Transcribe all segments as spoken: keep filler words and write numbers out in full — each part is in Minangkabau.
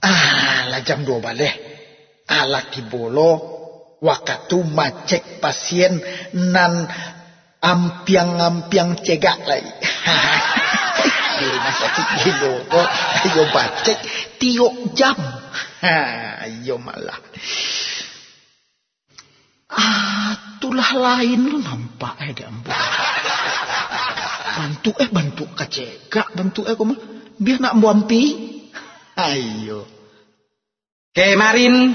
Ah, lah jam duo baleh. Alah kibo lo, wakatu macek pasien nan ampiang-ampiang cegak lai. Di rumah sakik gilo ko, iyo bacek tiok jam. Ha, iyo malah. Ah, tulah lain lo nampak eh di ambo. Bantuak eh, bantuak kacegak, bantuak eh ko mah. Bia nak ambo ampi. Ayo. Kemarin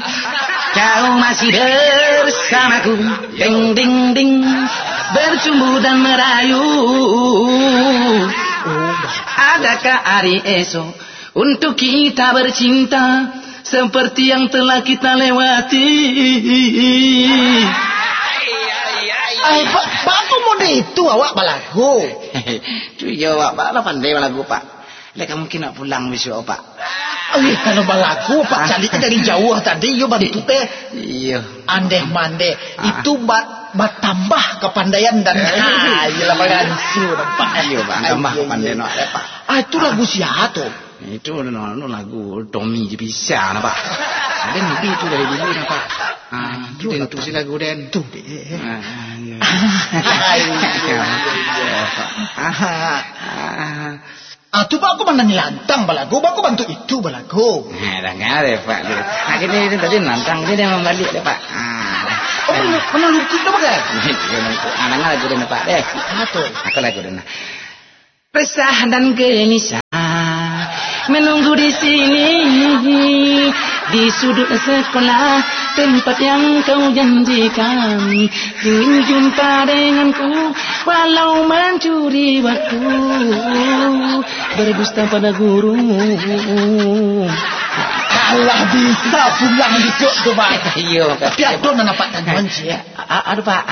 kau masih bersamaku, ding ding ding, bercumbu dan merayu. Adakah hari esok untuk kita bercinta seperti yang telah kita lewati? Ai, Pak, Pak, kok model itu awak balagu? Tu iyo, Pak. Pak lah pandai balagu, Pak. Lek ka mungkin nak pulang bisuak, Pak. Eh, kalau balagu, Pak, caliak dari jauah tadi, iyo bantuak eh. Iyo. Andeh mandeh. Ah. Itu ba-, batambah kapandaian dan, ah, iyolah, bagansu nampak. Iyo, Pak, tambah kapandaian awak, Pak. Ah, itu lagu sia tu? Itu no, no, lagu Tommy je bisa, nampak. Ada nabi tu dari dulu, nampak. Ah, itu den tu si lagu den. Tu deh. Ah, iyo. Ah, iyo, iyo, iyo. Ah. Ah, tu baa kok manilantang balagu, baa kok bantuak itu balagu. Nah, danga deh, Pak. Nah, gini, ini tadi nantang, ini dia mambalik deh, Pak. Ah. Oh, mana, mana lungkup dah, Pak, eh? Ah, danga lagu deh, Pak, deh. Ah, tu. Aku lagu deh, nah. Resah dan gelisah menunggu di sini, di sudut sekolah, tempat yang kau janjikan. Ingin jumpa denganku, walau mencuri waktu, berdusta pada guru. Alah, bisa pulang bisuak tu, Pak. Iyo, Pak. Tapi ado nan nampak tanjuan, ciek. A-, a-, ado, Pak.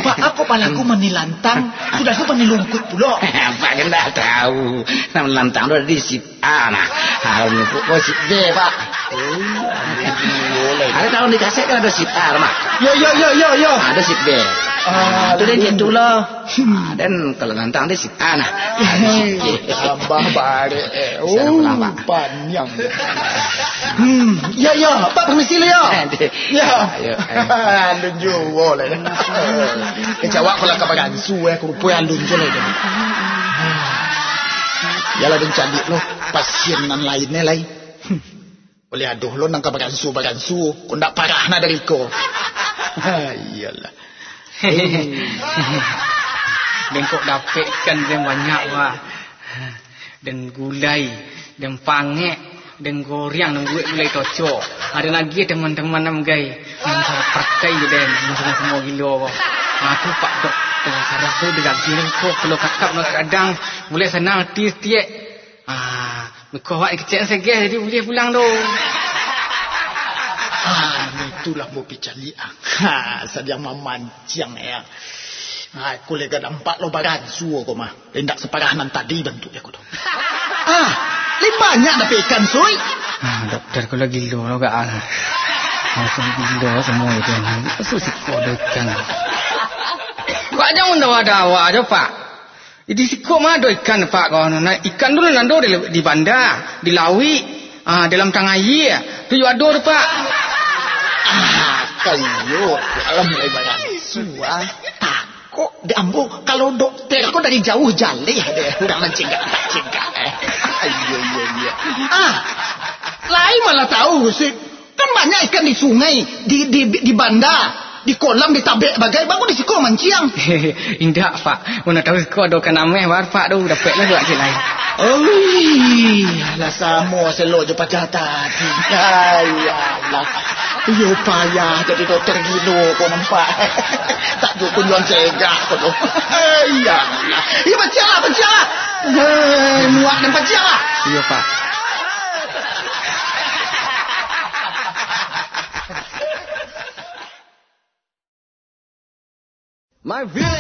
Pak, ako balagu manilantang, sudah tu manilungkuik pulo. Pak kan ndak tahu. Nan manilantang tu ado di sit A, nah. Kalau nyebut ko sit B, Pak. Oh, ado tahu di kaset kan ado sit A, Mak. Yo, yo, yo, yo, yo. Ado sit B. Ah, tu dia aduh. Gitu loh. Hmm. Ah, dan kalau nantang dia sit A, nah. Ado sit B. Tambah barek, eh. Bisa pulang, Pak. Paniang. Hmm, ya, ya. Pak, permisi dulu, ya. Aduh. Ya. Ayo, ayo. Alun juo lah. Kecawak kalau ka bagansu, eh, kurupui alun juo lah. Yalah, den caliak lo pasien nan lainnyo lai. Oleh adoh lo nan ka bagansu-bagansu, kok ndak parah nah dari ko. Iyolah. Bengkok dapek ikan yang banyak, wah. Den gulai, den pangek, den goreng, den buek gulai tocok. Ado lagi teman-teman nan gai, nan salah pakai je den, nan samo-samo gilo ko. Aku Pak Dokter, sarah tu di daging ko, kalau kakap nak kadang, mulai sanang ati setiek. Ah, muko awak kecek segeh, jadi boleh pulang tu. Ah, itulah mau picaliak. Ha, sadiang mamanciang ya. Ha, aku lega dampak lo bagansu ko mah. Indak saparah nan tadi bantuak aku tu. Ah, lai banyak dapek ikan, Sui? Ah, dokter, ko lah gilo lo gak ah. Langsung gilo semua itu. Masuk siko ado ikan. Kok jangan dawa-dawa aja, Pak. Di siko mah ado ikan, Pak, ko. Nah, ikan tu nan ado di, di banda, di lauik, ah, dalam tang aia. Tu yo ado tu, Pak. Ah, kayo, dalam mulai bagansu, ah. Kok di ambo, kalau dokter ko dari jauh jaleh deh, urang nan cegak, tak cegak, eh. Iyo, iyo, iyo. Ah, lai malah tahu, Sik. Kan banyak ikan di sungai, di, di, di banda, di kolam, di tabek bagai, baa kok di siko manciang. Indak, Pak. Mana tahu siko ado ikan ameh, bar, Pak, tu dapek lah buat cik lain. Oi, lah samo selo jo pacah tadi. Ayalah. Iyo payah jadi dokter gilo ko nampak. Tak cukup jual cegak ko tu. Ayalah. Iyo, pancianglah, pancianglah. Hei, muak dan pancianglah. Iyo, Pak. My village.